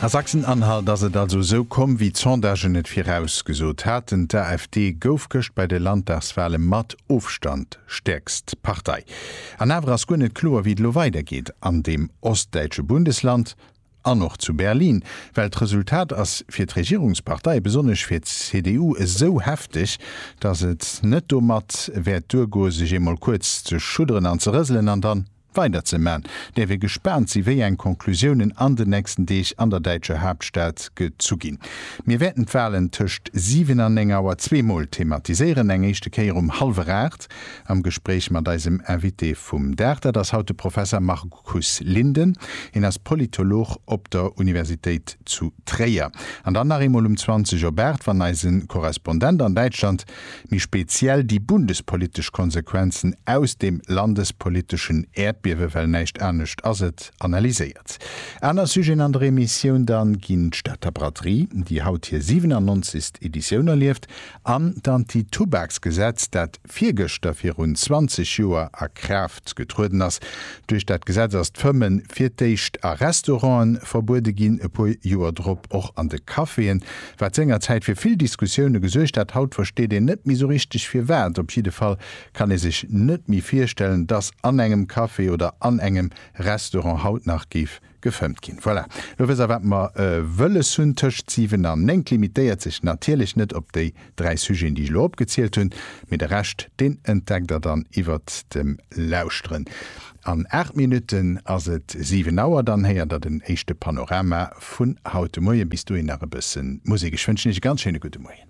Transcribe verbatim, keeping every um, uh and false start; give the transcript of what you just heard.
A Sachsen-Anhalt ass et also esou komm, wéi d'Sondagen et virausgesot haten, D'AfD gouf gëscht bei de Landtagswale mat Ofstand stäerkst Partei. An awer ass guer net kloer, wéi et elo weidergeet an deem ostdäitsche Bundesland an och zu Berlin. Well d'Resultat ass fir d'Regierungspartei, besonnesch fir d'CDU, esou hefteg, datt et net domat wäert duergoe sech eemol kuerz ze schudderen an ze rëselen an dann weider ze man. Däerf ee gespaant si wéi eng Conclusiounen an den nächsten Deeg an der däitscher Haaptstad gezu ginn. Mir wäerten d'Walen tëscht siwen an néng Auer zwee Mol thematiséieren, eng éischte Kéier um hallwer aacht am Gespréich mat eisem Invité vum Dag, dat ass haut de Professer Markus Linden, hien ass Politolog op der Universitéit zu Tréier. An dann nach eemol um zwanzeg op aacht, wann eise Korrespondent an Däitschland méi speziell déi bundespolitesch Konsequenzen aus dem landespoliteschen Äerdbiewe, well näischt anescht ass et, analyséiert. Aner Sujeten an der Emissioun dann ginn d'Stater Braderie, déi haut hir siwenannonzegst Editioun erlieft, an d'Anti-Tubaksgesetz, dat virgëschter virun zwanzeg Joer a Kraaft getrueden ass. Duerch dat Gesetz ass d'Fëmmen fir d'éischt a Restauranten verbuede ginn, e puer Joer drop och an de Caféen, wat sengerzäit fir vill Diskussioune gesuergt hat. Haut versteet een net méi sou richteg firwat. Op jidde Fall kann ee sech net méi virstellen, dass an engem Café oder an engem Restaurant haut nach géif gefëmmt ginn. Voilà, lo wësst der wat mer wëlles hunn tëscht siwen an néng. Limitéiert sech natierlech net op déi dräi Sujeten, déi ech elo opgezielt hunn, mee de Rescht, deen entdeckt der dann iwwert dem Lauschteren. An aacht Minutten ass et siwen Auer, dann héiert der den éischte Panorama vun haut de Moien. Bis dohin nach e bësse Musek. Ech wënschen iech e ganz schéine gudde Moien.